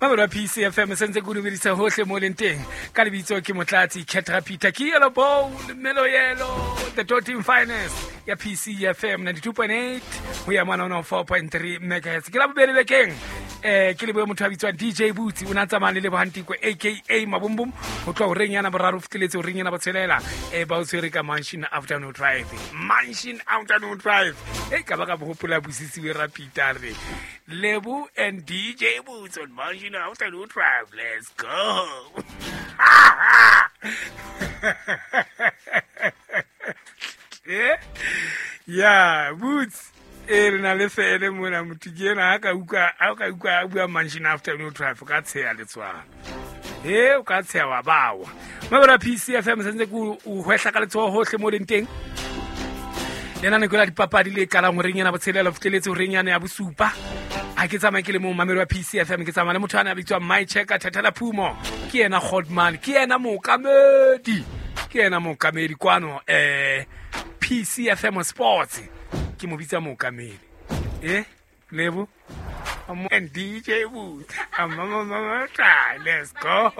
Mamelo ya PCFM se ntse ke o dumedisa hohle mo leng teng. Ka lebitso ke Motlatsi Ketra Peter, ke Yellow Bone, Melo Yellow, the Totin Finest ya PCFM 92.8 ho ya mona 104.3 megahertz. Ke la bobedi bekeng. Ke lebohe motho a bitswang DJ Butsi, o ne a tsamaya le Lebohang Tiko aka Mabumbum ho tloha horeng yana boraro fitlheletse horeng yana botshelela. Ba o tshwere ka Mansion Afternoon Drive. Mansion Afternoon Drive. E ka ba ka bohopola bosisiwe ra Peter re. Lebo and DJ Boots on Mansion Afternoon Drive. Let's go. Yeah, Boots. E re na le fele mona motho ke ena a ka utlwa a ka utlwa a bua Mansion Afternoon Drive ka tsheya letswalo. E o ka tsheya wa bawa. Mabera PCFM sentse ke o hwehla ka letsoho hohle mo leng teng. Lenaneko la dipapadi le qalang horeng ena botshelela fitlheletse horeng yana ya bosupa. Ha ke tsamaye ke le mong mamelo wa PCFM, ke tsamaya le motho ana a bitswang My Checker Thathela Phumo. Ke yena Godman, ke yena mookamedi. Ke yena mookamedi kwano PCFM Sports. Ke mo bitsa mookamedi. Lebo and DJ Booth. Let's go.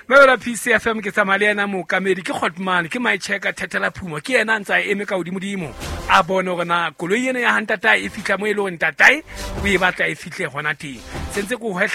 Mabela PCFM ke tsamaya le yena mookamedi ke Godman, ke My Checker Thathela Phumo. Ke yena a ntse a eme ka hodimodimo a bone hore na koloi ena ya ha ntatae e fihla mo e leng hore ntatae o e batla e fihle hona teng. Sentse ke o hwehla.